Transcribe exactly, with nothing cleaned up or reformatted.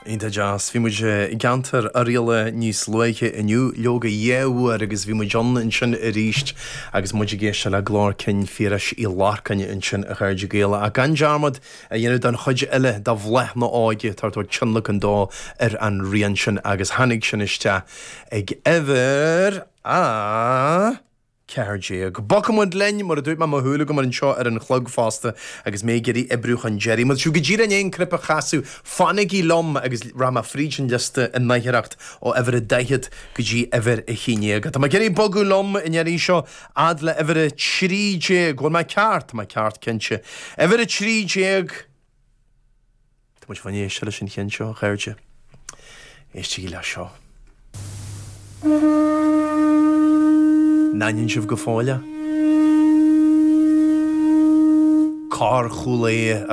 Iontach deas. Bhí muid i gceantar Oirialla níos luaithe inniu, leoga dhá uair agus bhí muid ann ansin arís agus muid ag éisteacht le glór cinn Phiarais Uí Lorcáin ansin a chairde Gael. Ach gan dearmad a dhéanamh don chuid eile de Bhláth na hÓige atá ag tabhairt tionlacan dó ar an rian sin agus tháinig sin isteach ag uimhir a ceathair déag. Bogfaidh muid linn, mar a dúirt mé mo shúil agam anseo ar an chlog fosta agus mé ag iarraidh oibriú chun deiridh. Má tá sibh go díreach i ndiaidh an cnaipe a chasadh, fanaigí liom agus rachaidh mé fríd an liosta i ndaicheacht ó uimhir a daichead go dtí uimhir a haon déag. Tá mé ag iarraidh bogadh liom an iarraidh seo fhad le uimhir a trí déag. Bhfuil mé ceart? Tá mé ceart cinnte. Uimhir a trí déag. Tá muid fá éisteacht leis an cheann seo, a chairde. Éistigí le seo. An aithníonn sibh go fóill é? Cor Chúil Aodha a